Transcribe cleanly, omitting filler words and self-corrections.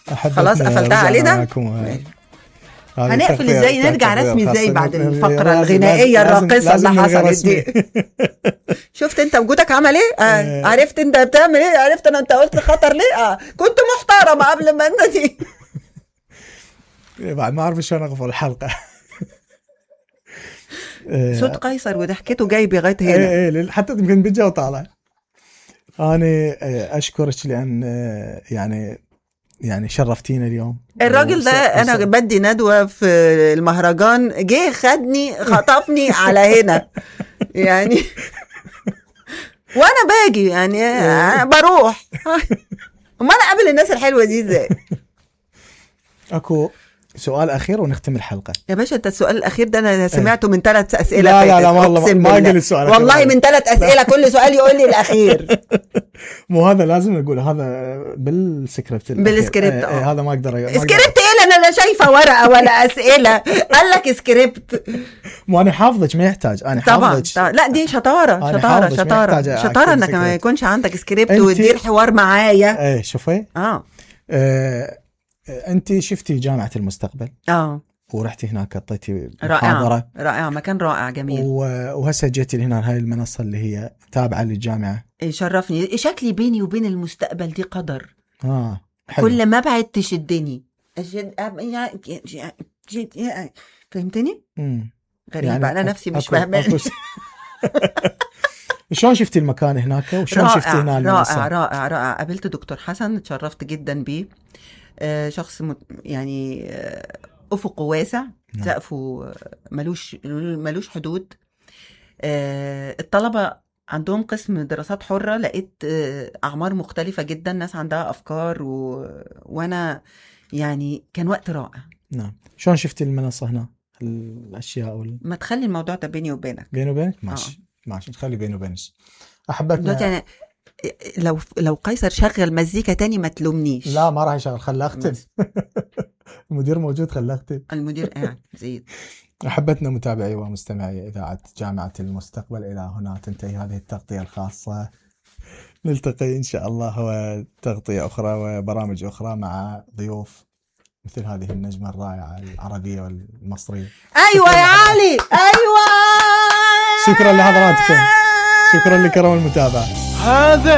خلاص قفلتها علينا. هنقفل ازاي؟ نرجع رسمي ازاي بعد الفقرة الغنائية الراقصة اللي حصلت دي؟ شفت انت وجودك عمل ايه؟ عرفت انت بتعمل ايه؟ عرفت انت قلت خطر ليه؟ كنت محترمة قبل ما انت دي. بعد ما اعرف شلون اغفل الحلقة. صوت قيصر وضحكته جاي بغاية هنا. ايه حتى يمكن بيجا وطالع. انا اشكرك لان يعني شرفتينا اليوم. الراجل ده انا بدي ندوة في المهرجان جه خدني خطفني على هنا يعني وانا باجي يعني بروح. وما انا قابل الناس الحلوة دي ازاي؟ اكو سؤال اخير ونختم الحلقه يا باشا. انت السؤال الاخير ده انا سمعته من 3 اسئله. لا والله ما قال السؤال والله من 3 اسئله كل سؤال يقول لي الاخير. مو هذا لازم نقول هذا بالسكريبت. هذا ما اقدر سكريبت ايه؟ انا لا شايفه ورقه ولا اسئله. قال لك سكريبت. مو انا حافظك ما يحتاج. انا حافظك. لا دي شطاره انك ما يكونش عندك سكريبت وتدير حوار معايا. شوفي انت شفتي جامعة المستقبل ورحتي هناك قطيتي محاضرة رائعة مكان رائع جميل. وهسه جيتي هنا هاي المنصة اللي هي تابعة للجامعة. شرفني. شكلي بيني وبين المستقبل دي قدر. حلو. كل ما بعد تشدني فهمتني؟ غريبة يعني أنا نفسي مش فاهمة. شلون شفتي المكان هناك وشلون شفتي هنا المنصة؟ رائع. قابلت دكتور حسن اتشرفت جدا بيه. شخص يعني أفقه واسع. سقفه ملوش حدود. الطلبة عندهم قسم دراسات حرة. لقيت أعمار مختلفة جدا. ناس عندها أفكار وأنا يعني كان وقت رائع. نعم. شلون شفتي المنصة هنا الأشياء ما تخلي الموضوع ده بيني وبينك. بيني وبينك ماشي نخلي بيني وبينك. أحبتنا لو قيصر شغل مزيكا تاني ما تلومنيش. لا ما راح يشغل. خلاه اختم. المدير موجود. خلاه اختم. المدير قاعد زيد. أحبتنا متابعي ومستمعي إذاعة جامعة المستقبل، إلى هنا تنتهي هذه التغطية الخاصة. نلتقي إن شاء الله وتغطية أخرى وبرامج أخرى مع ضيوف مثل هذه النجمة الرائعة العربية والمصرية. أيوة يا علي أيوة. شكرا لحضراتكم. شكرا لكرم المتابعة. هذا